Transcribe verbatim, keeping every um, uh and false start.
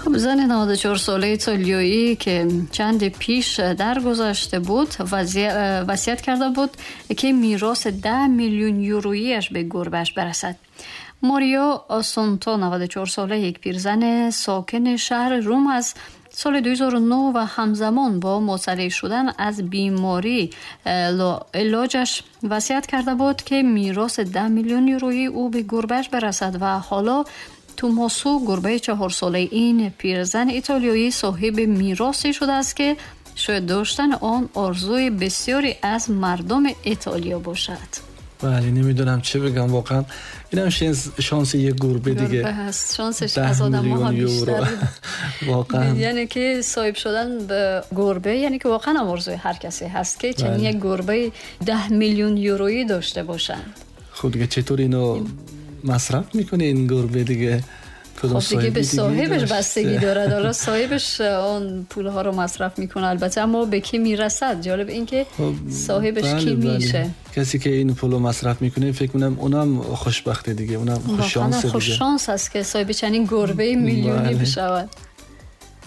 خب، زن نود و چهار ساله ایتالیایی که چند پیش درگذشته بود، وصیت کرده بود که میراث ده میلیون یورویش به گربهش برسد. ماریا آسونتا، نود و چهار ساله، یک پیرزن ساکن شهر روم از سال دو هزار و نه و همزمان با مطلع شدن از بیماری لاعلاجش وصیت کرده بود که میراث ده میلیون یورویی او به گربهش برسد و حالا توماسو، گربه چهار ساله این پیرزن ایتالیایی، صاحب میراثی شده است که شاید داشتن آن آرزوی بسیاری از مردم ایتالیا باشد. بله، نمیدونم چه بگم واقعا. اینم شانس یه گربه دیگه. هست، شانسش از آدم ها بیشتر. واقعا. یعنی که صاحب شدن به گربه، یعنی که واقعا آرزوی هر کسی هست که چنین بله. یک گربه ده میلیون یورویی داشته باشند. خب دیگه، چطور اینو مصرف میکنه این گربه دیگه؟ خب دیگه، به صاحبش بستگی دارد. حالا صاحبش آن پولها رو مصرف میکنه البته، اما به کی میرسد؟ جالب این که خب صاحبش بله کی بله. میشه. کسی که این پولو مصرف میکنه، فکر کنم اونم خوشبخته دیگه، اونم خوش شانس دیگه. خوش شانس است که صاحب چنین گربه میلیونی بله. بشود.